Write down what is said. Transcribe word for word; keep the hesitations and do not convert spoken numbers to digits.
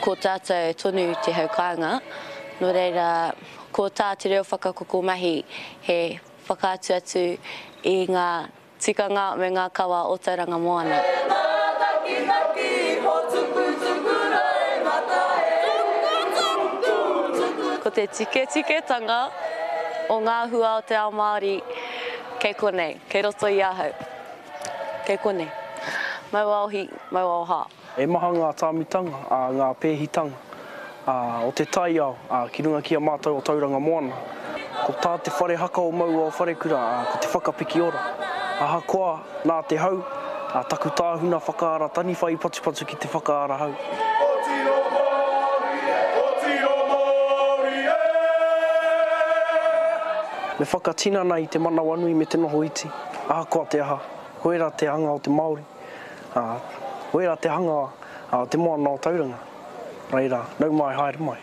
Ko tātou tonu te hau kāinga, nō reira ko tā te reo whakakoko mahi he whakaatu atu i ngā tikanga me ngā kawa o Tauranga Moana. Ko te tiketiketanga o ngā hua o te ao Māori kei konei, kei roto i ahau. Kei konei. Mau aohi, mau aoha. E maha ngā tāmitanga, ngā pēhitanga o te taiao ki runga ki a mātou o Tauranga Moana. Ko tā te whare haka o Mauao Wharekura, ko te whakapiki ora. Ahakoa nā te hau, taku tāhuna whakaara taniwha i patupatu ki te whakaara hau. Me whakatinana i te manawanui me te noho iti, ahakoa te aha, koira te hanga o te Māori, koira te hanga o te moana o Tauranga. Reira, nau mai, haere mai.